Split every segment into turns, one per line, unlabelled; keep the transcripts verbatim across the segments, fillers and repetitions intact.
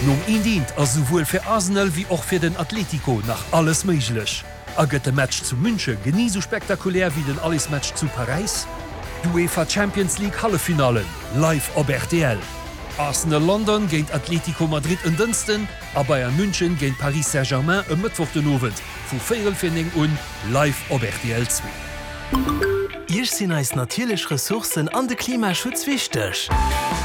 Nom eent eent ass souwuel fir Arsenal wéi och fir den Atlético nach alles méiglech. A gëtt de Match zu Münche genee sou spektakulär wéi den Allersmatch zu Paräis? D'UEFA Champions League Halleffinallen live op R T L. Arsenal London géint Atlético Madrid en Dënschden a Bayern München géint Paris Saint-Germain e Mëttwoch den Owend vu véierel vir néng un live op R T L zwee.
Iech sinn eis natierlech Ressourcen an de Klimaschutz wichteg.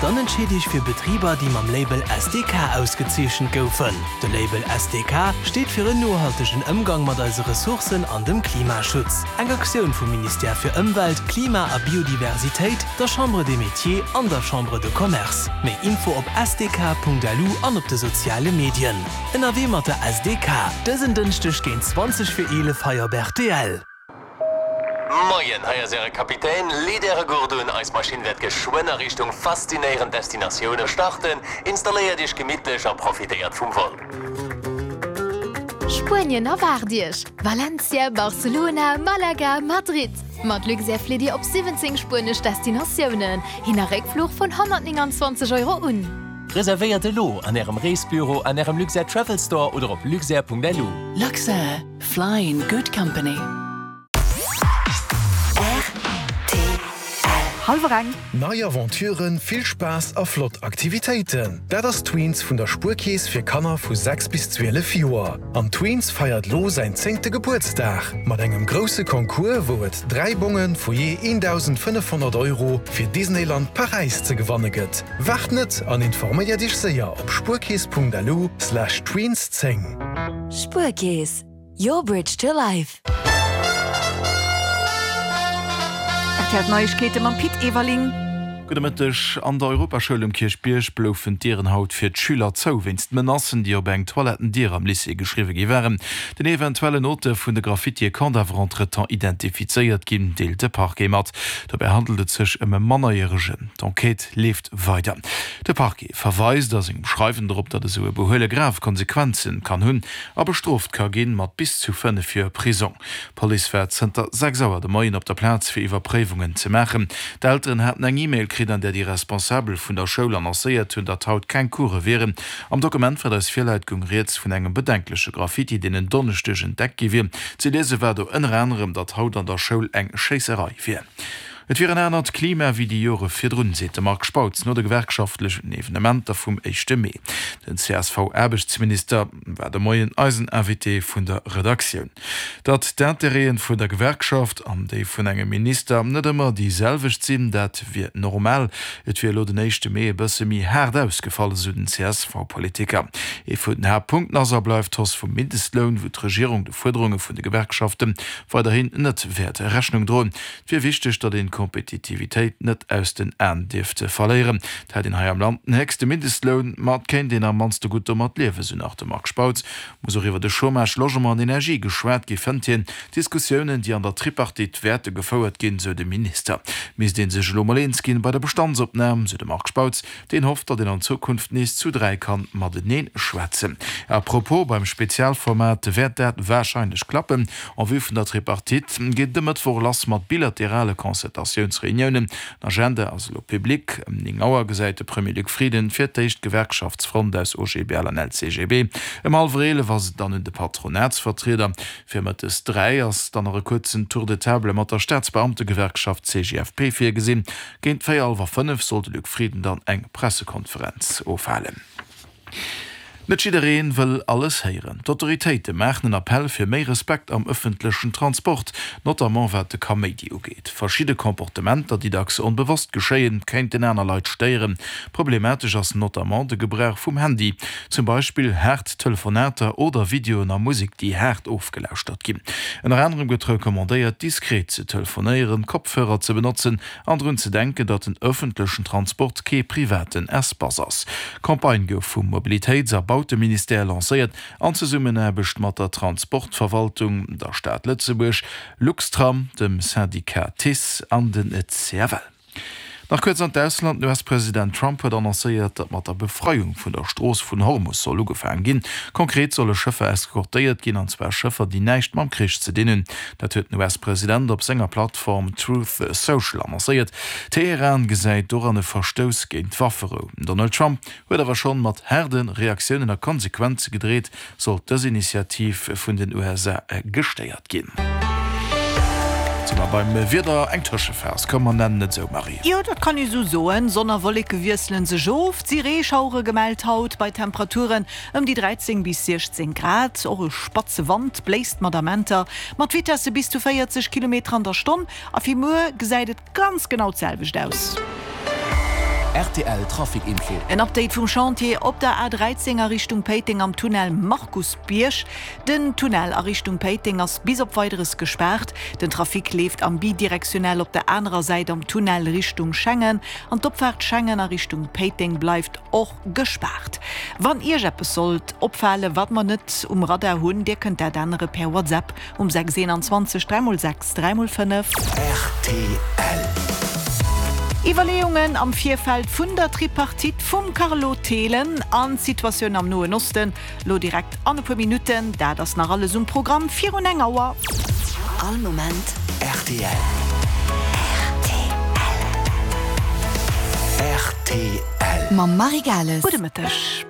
Dann entscheet Iech fir Betriber, déi mam Label S D K ausgezeechent goufen. De Label S D K steet fir en nohaltegen Ëmgang mat eise Ressourcen an dem Klimaschutz. Eng Aktioun vum Ministère fir Ëmwelt, Klima a Biodiversitéit, der Chambre des Métiers an der Chambre de Commerce. Méi Info op S D K Punkt L U an op de soziale Medien. Ënnerwee mat der S D K. Dësen Dënschdeg géint zwanzeg vir eelef hei op R T L.
Moien, hei ass äre Kapitän. Leet äre Gurt un, eis Maschinn wäert geschwënn a Richtung faszinéierend Destinatioune starten. Installéiert iech gemittlech a profitéiert vum Vol.
Spuenien erwaart Iech. Valencia, Barcelona, Malaga, Madrid. Mat Luxair flitt Dir op siwwenzéng spuenesch Destinatiounen. Hin a Réckfluch vun honnertnénganzwanzeg Euro un.
Reservéiert elo an ärem Reesbüro, an ärem Luxair Travel Store oder op luxair Punkt L U.
Luxair, fly in good company.
Hallwer eng.
Nei Aventuren, vill Spaass a flott Aktivitéiten. Dat ass Tweens vun der Spuerkeess fir Kanner vu sechs bis zwielef Joer. An Tweens feiert lo säin zéngte Gebuertsdag mat engem grousse Concours, wou et dräi Bonge vu jee dausendfënnefhonnert Euro fir Disneyland Paräis ze gewanne gëtt. Waart net an informéier dech séier op spuerkeess Punkt L U slash tweens zéng.
Spuerkeess, your bridge to life.
R T L Neiegkeete mam Pit Everling.
Gudde Mëtteg. An der Europaschoul um Kierchbierg bloufen d'Dieren haut fir d'Schüler zou wéinst Menacen, déi op eng Toilettendier am Lycée geschriwwe gi waren. Den eventuellen Auteur vun de Graffitie konnt awer entretemps identifizéiert ginn, deelt de Parquet mat. Dobäi handelt et sech ëm e Mannerjäregen. D'Enquête leeft weider. De Parquet verweist a sengem Schreiwen dorop, datt esou e Behuele grav Konsequenze kann hunn a bestrooft ka ginn mat bis zu fënnef Joer Prisong. D'Police war zënter sechs Auer de Moien op der Plaz fir Iwwerpréiwungen ze maachen. D'Elteren haten eng E-Mail kritt, an där déi Responsabel vun der Schoul annoncéiert hunn, datt haut keng Course wieren. Am Dokument, wat eis virläit, goung rieds vun engem bedenkleche Graffiti, deen en Donneschdeg entdeckt gi wier. Ze liese war do ënner anerem, datt haut an der Schoul eng Schéisserei wier. Et wier en anert Klima wéi déi Jore virdrun, seet de Marc Spautz no de gewerkschaftlechen Evenementer vum éischte Mee. Den C S V-Aarbechtsminister war de Moien eisen Invité vun der Redaktioun. Datt d'Interêten vun der Gewerkschaft an déi vun engem Minister net ëmmer déi selwecht sinn, dat wier normal. Et wier elo den éischte Mee e bësse méi haart ausgefall, sou den C S V-Politiker. Ee vun den Haaptpunkten ass a bleift d'Hausse vum Mindestloun, wou d'Regierung de Fuerderunge vun de Gewerkschafte weiderhin net wäert Rechnung droen. Et wier wichteg, datt een d'Kompetitivitéit net aus den Aen dierft verléieren. Et hätt een hei am Land den héchste Mindestloun, ma et kéint een am mannste gutt domat liewen, sou nach de Marc Spautz. Muss och iwwer de Chômage, Logement an Energie geschwat gi, fënnt hien. Diskussiounen, déi an der Tripartite wäerte gefouert ginn, sou de Minister. Misst een sech elo mol eens ginn bei der Bestandsopnam, sou de Marc Spautz, deen hofft, datt een an Zukunft nees zu dräi kann matenee schwätzen. À propos, beim Spezialformat wäert dat warscheinlech klappen. En vue vun der Tripartite geet de Mëttwoch lass mat bilaterale Concertatiounsreuniounen. D'Agenda ass elo public. Ëm néng Auer gesäit de Premier Luc Frieden fir d'éischt d'Gewerkschaftsfront aus O G B L an L C G B. Ëm hallwer eelef ass et dann un de Patronatsvertrieder. Fir mëttes dräi ass dann nach e kuerzen Tour de table mat der Staatsbeamtegewerkschaft C G F P virgesinn. Géint véierel hallwer fënnef soll de Luc Frieden dann eng Pressekonferenz ofhalen. Net jidderee wëll alles héieren. D'Autoritéite maachen en Appell fir méi Respekt am ëffentlechen Transport, notamment wat de Kaméidi ugeet. Verschidde Komportementer, déi dacks onbewosst geschéien, kéinten aner Leit stéieren. Problematesch ass notamment de Gebrauch vum Handy, zum Beispill haart Telefonater oder Videoen a Musek, déi haart ofgelauschtert ginn. Ënner anerem gëtt recommandéiert, diskret ze telefonéieren, Kopfhörer ze benotzen an drun ze denken, datt den ëffentlechen Transport kee privaten Espace ass. D'Campagne gouf vum Mobilitéits a Bauteministère lancéiert an Zesummenaarbecht mat der Transportverwaltung, der Stad Lëtzebuerg, Luxtram, dem Syndicat TICE an den C F L. Nach kuerz an d'Ausland, Den US-President Trump huet annoncéiert, datt mat der Befreiung vun der Strooss vun Hormus soll ugefaangen ginn. Konkret solle Schëffer eskortéiert ginn, an zwar Schëffer, déi näischt mam Krich ze dinn hunn. Dat huet den US-President op senger Plattform Truth Social annoncéiert. Teheran gesäit doran e Verstouss géint d'Wafferou. Den Donald Trump huet awer schonn mat haarde Reaktiounen a Konsequenze gedreet, sollt dës Initiativ vun den U S A gestéiert ginn. Si mer beim Wieder, eng Tëschephas, komm mer nennen et esou, Marie.
Jo, dat kann ee sou soen. Sonn a Wolleke wiessele sech of. Et si Reeschauere gemellt haut bei Temperaturen ëm déi dräizéng bis siechzéng Grad. Och e spatze Wand bléist mat Amenter mat Vitesse bis zu véierzeg Kilometer an der Stonn. A fir muer gesäit et ganz genau d'selwecht aus.
R T L Trafic Info.
En Update vum Chantier op der A dräizéng a Richtung Péiteng am Tunnel Markusbierg. Den Tunnel a Richtung Péiteng ass bis op Weideres gespaart. Den Trafic leeft am bidirektionell op der anerer Säit am Tunnel Richtung Schengen an d'Opfaart Schengen a Richtung Péiteng bleift och gespaart. Wann Iech eppes sollt opfalen, wat mer net um Radar hunn, Dir kënnt dat ännere per WhatsApp um sechs eenanzwanzeg dräi mol sechs dräi mol fënnef.
R T L.
Iwwerleeungen am Virfeld vun der Tripartite vum Carlo Thelen an d'Situatioun am Noen Osten lo direkt an e puer Minutten. Dat ass nach alles um Programm virun eng Auer.
All Moment
R T L.
R T L.
R T L.
Mam Marie Gales.
Gudde Mëtteg.